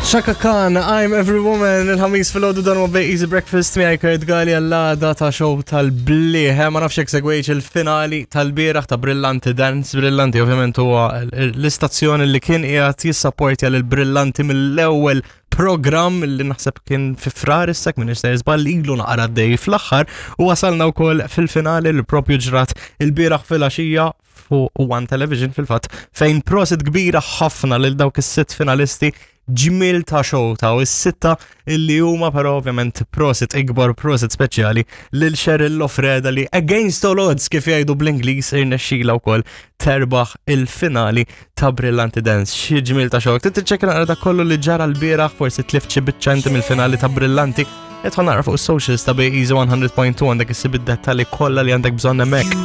Chaka Khan, I'm Every Woman, il-ħamis fil-ħodu dan huwa Easy Breakfast miegħi Kurt Gali għall-għada ta' show tal-bliħ. Eh, ma nafx jekk segwejx il-finali tal-bieraħ ta' Brillanti Dance. Brillanti ovvjament huwa l-istazzjoni li kien qiegħed jissapportja lil Brillanti mill-ewwel programm li naħseb kien fi frar issa minn nista' żball ilu naqra dej fl-aħħar u wasalna wkoll fil-finali li propju ġrat il-bieraħ fil-għaxija fuq One Television fil-fatt fejn prosit kbira ħafna lil dawk is-sitt finalisti ġmil ta' show ta' u s-sitta illi huma però ovvjament prosit ikbar prosit speċjali lil Cheryl Lofreda li against all odds kif jgħidu bl-Ingliż irnexxila wkoll terbaħ il-finali ta' Brillanti Dance. Xi ġmil ta' show. Trid tiċċekkja naqra dak kollu li ġara l-bieraħ forsi tlift xi biċċa inti mill-finali ta' Brillanti. Idħol naqra fuq is-socials ta' Bay Easy 100.2 għandek issib id-dettalji kollha li għandek bżonn hemmhekk.